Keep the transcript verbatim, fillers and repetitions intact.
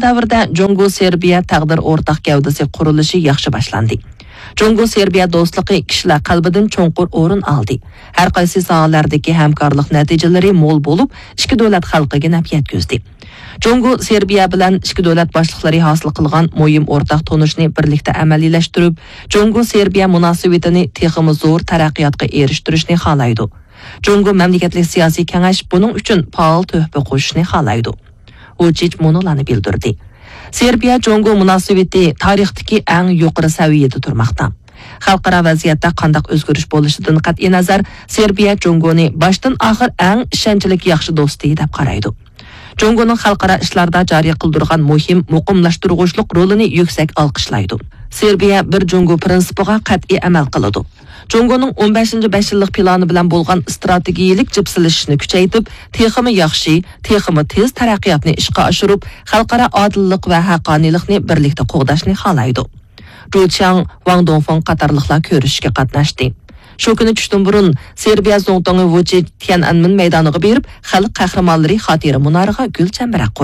دەۋردە جۇڭگو سېربىيە تەقدىر ئورتاق گەۋدىسى قۇرۇلۇشى ياخشى باشلاندى. جۇڭگو سېربىيە دوستلۇقى كىشىلەر قەلبىدىن چوڭقۇر ئورۇن ئالدى. ھەر قايسى ساھەلەردىكى ھەمكارلىق نەتىجىلىرى مول بولۇپ، ئىككى دۆلەت خەلقىگە نەپ يەتكۈزدى. جۇڭگو سېربىيە بىلەن ئىككى دۆلەت باشلىقلىرى ھاسىل قىلغان مۇھىم ئورتاق تونۇشنى بىرلىكتە ئەمەلىيلەشتۈرۈپ، جۇڭگو سېربىيە مۇناسىۋىتىنى تېخىمۇ زور تەرەققىياتقا ئېرىشتۈرۈشنى خالايدۇ. جۇڭگو مەملىكەتلىك سىياسىي كېڭەش بۇنىڭ ئۈچۈن پائال تۆھپە قوشۇشنى خالايدۇ. ۋۇچىچ مۇنۇلارنى بىلدۈردى: سېربىيە جۇڭگو مۇناسىۋىتى تارىختىكى ئەڭ يۇقىرى سەۋىيەدە تۇرماقتا. خەلقئارا ۋەزىيەتتە قانداق ئۆزگىرىش بولۇشىدىن قەتئىينەزەر، سېربىيە جۇڭگونى باشتىن ئاخىر ئەڭ ئىشەنچلىك ياخشى دوستى دەپ قارايدۇ. جۇڭگونىڭ خەلقئارا ئىشلاردا جارى قىلدۇرغان مۇھىم مۇقىملاشتۇرغۇچلۇق رولىنى يۈكسەك ئالقىشلايدۇ. سېربىيە بىر جۇڭگو پىرىنسىپىغا قەتئىي ئەمەل قىلىدۇ. جۇڭگونىڭ ئون بەشىنچى بەش يىللىق پىلانى بىلەن بولغان ئىستراتېگىيىلىك جىپسىلىشىشنى كۈچەيتىپ، تېخىمۇ ياخشى، تېخىمۇ تېز تەرەققىياتنى ئىشقا ئاشۇرۇپ، خەلقئارا ئادىللىق ۋە ھەققانىيلىقنى بىرلىكتە قوغداشنى خالايدۇ. جۇ چياڭ، ۋاڭ دۇڭفېڭ قاتارلىقلار كۆرۈشۈشكە قاتناشتى. شۇ كۈنى چۈشتىن بۇرۇن سېربىيە زۇڭتۇڭى ۋۇچىچ تيەنئەنمېن مەيدانىغا بېرىپ، خەلق قەھرىمانلىرى خاتىرە مۇنارىغا گۈل چەمبىرەك قويدى.